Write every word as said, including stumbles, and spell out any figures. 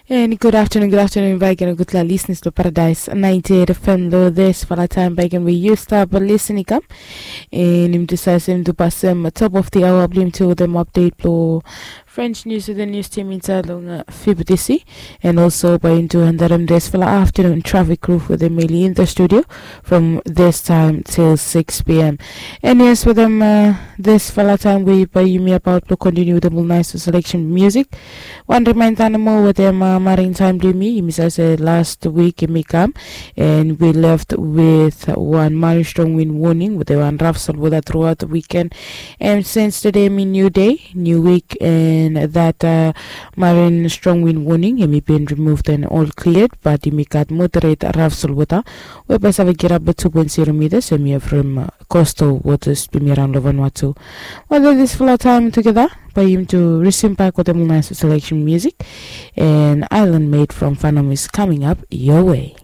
And good afternoon, good afternoon baik, and gutpela listeners to Paradise ninety-eight F M lo this fala time baik, and we used up listening kam. And im decide to pass them top of the hour blim to them update lo French news with the news team inside long uh, F B T C. And also by into under them this fala afternoon traffic crew for the mainly in the studio from this time till six p.m. And yes, with them uh, this fala time we by you me about to continue the nice selection music. Wan reminder nomo wetem uh, marin time blong yumi, yumi save se last week yumi kam, and we left with one marin strong wind warning wetem wan rough salvota throughout the weekend. And since today mi new day, new week, and that uh, marin strong wind warning yumi bin removed and all cleared, but yumi gat moderate rough salvota we by save get up two point zero meters, and yumi have from uh, coastal waters blong yumi around lo Vanuatu. Well, this fala time together by him to resume back with the nice selection music, and Island Made from Fanum is coming up your way.